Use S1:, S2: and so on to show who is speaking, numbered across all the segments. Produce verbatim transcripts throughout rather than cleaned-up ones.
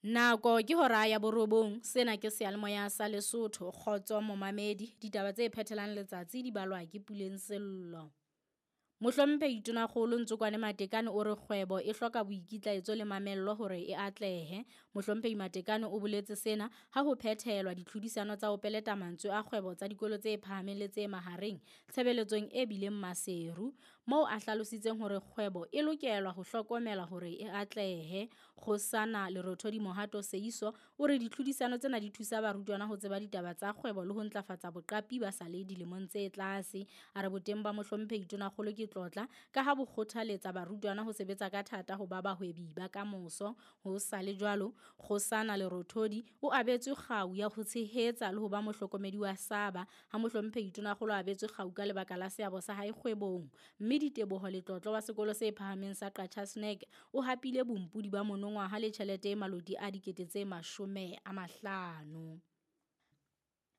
S1: Nako ke hora ya borobong, sena ke seyalemoya sa Lesotho, kgotso momamedi. Ditaba tse phethelang letsatsi di balwa ke Puleng Sello. Mohlomphehi Tonakgolo Ntsokwane Matekane o re kgwebo e hloka boikitlaetso le mamello hore e atlehe. Mohlomphehi Matekane o boletse sena ha ho phethelwa ditlhodisano tsa ho peleta mantswe a kgwebo tsa dikolo tse phahameng le tse mahareng tshebeletsong e bileng Maseru, moo a hlalositseng hore kgwebo e lokelwa ho hlokomelwa hore e atlehe. Kgosana Lerothodi Mohato Seiso o re ditlhodisano tsena di thusa barutwana ho tseba ditaba tsa kgwebo le ho ntlafatsa boqapi ba sa le dilemong tse tlase. A re boteng ba Mohlomphehi Tonakgolo ke tlotla ka ha bo kgothaletsa barutwana ho sebetsa ka thata ho ba bahwebi ba kamoso. Ho sa le jwalo, Kgosana Lerothodi o abetswe kgau ya ho tshehetsa le ho ba mohlokomedi wa Saba ha Mohlomphehi Tonakgolo a abetswe kgau ka lebaka la seabo sa hae kgwebong. Mme Diteboho Letlotlo wa sekolo se phahameng sa Qacha's Nek o hapile bompodi ba monongwaha le tjhelete e maloti a dikete tse mashome a mahlano.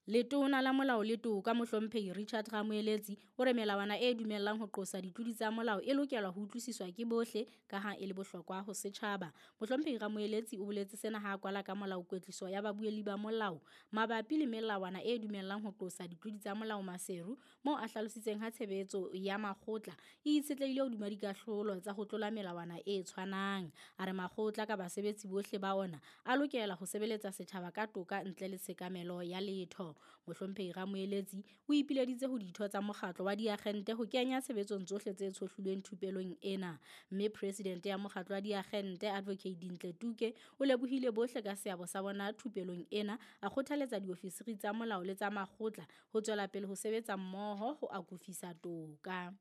S1: Letona la Molao le Toka Mohlomphehi Richard Ramoeletsi o re melawana e dumellang ho qosa ditlodi tsa molao e lokelwa ho utlwisiswa ke bohle ka ha e le bohlokwa ho setjhaba. Mohlomphehi Ramoeletsi o boletse sena ha a kwala ka molao kwetliso ya babuelli ba molao mabapi le melawana e dumellang ho qosa ditlodi tsa molao Maseru, moo a hlalositseng ha tshebetso ya makgotla e itshetlehile hodima dikahlolo tsa ho tlola melawana e tshwanang. A re makgotla ka basebetsi bohle ba ona a lokela ho sebeletsa setjhaba ka toka ntle le tshekamelo ya letho. Mohlomphehi Ramoeletsi o ipileditse ho ditho tsa mokgatlo wa diagente ho kenya tshebetsong tsohle tse tshohlilweng thupelong ena. Mme presidente ya mokgatlo wa diagente Advocate Dintle Tuke o lebohile bohle ka seabo sa bona thupelong ena, a kgothaletsa diofisiri tsa molao le tsa makgotla ho tswela pele ho sebetsa mmoho ho akofisa toka.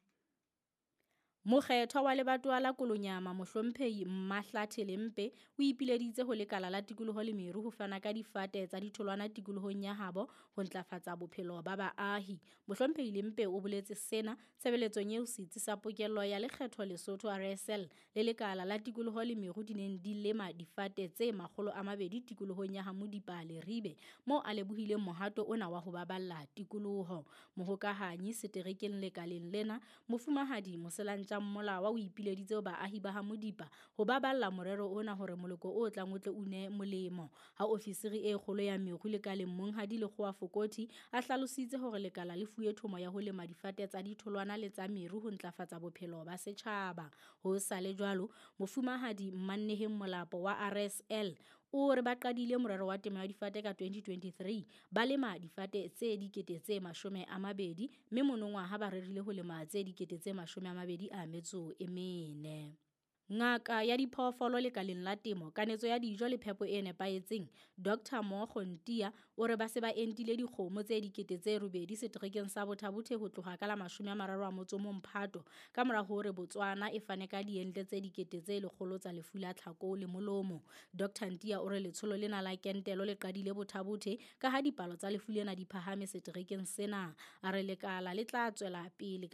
S1: Mokgethwa wa lebatowa la Kolonyama Mohlomphehi Mmahlathe Lempe o ipileditse ho lekala la tikoloho le meru ho fana ka difate tsa ditholwana tikolohong ya habo ho ntlafatsa bophelo ba baahi. Mohlomphehi Lempe o boletse sena tshebeletsong eo setsi sa pokello ya lekgetho Lesotho R S L le lekala la tikoloho le meru di neng di lema difate tse makgolo a mabedi tikolohong ya Hamodipa Leribe, moo a lebohileng mohato ona wa ho baballa tikoloho. Mohokahanyi seterekeng lekaleng lena Mofumahadi Moselantja Mmolawa o ipileditse ho baahi ba Hamodipa ho baballa morero ona hore moloko o tlang o tle o une molemo. Ha ofisiri e kgolo ya meru lekaleng Monghadi Lekgowa Fokothi a hlalositse hore lekala le fuwe thomo ya ho lema difate tsa ditholwana le tsa meru ho ntlafatsa bophelo ba setjhaba. Ho sa le jwalo, Mofumahadi Mmanneheng Molapo wa R S L o re ba qadile morero wa temo ya difate ka twenty twenty-three, ba lema difate tse dikete tse mashome a mabedi, mme monongwaha ba rerile ho lema tse dikete tse mashome a mabedi a metso e mene. Ngaka ya diphoofolo lekaleng la temo, kanetso ya dijo le phepo e nepahetseng, Doctor Mogo Ntia o re ba se ba entile dikgomo tse dikete tse robedi seterekeng sa Botha-Bothe ho tloha ka la mashome a mararo a motso o mong Phato, ka mora hore Botswana e fane ka diente tse dikete tse lekgolo tsa lefu la tlhako le molomo. Doctor Ntia o re letsholo lena la kentelo le qadile Botha-Bothe ka ha dipalo tsa lefu lena di phahame seterekeng sena. A re lekala le tla tswela pele ka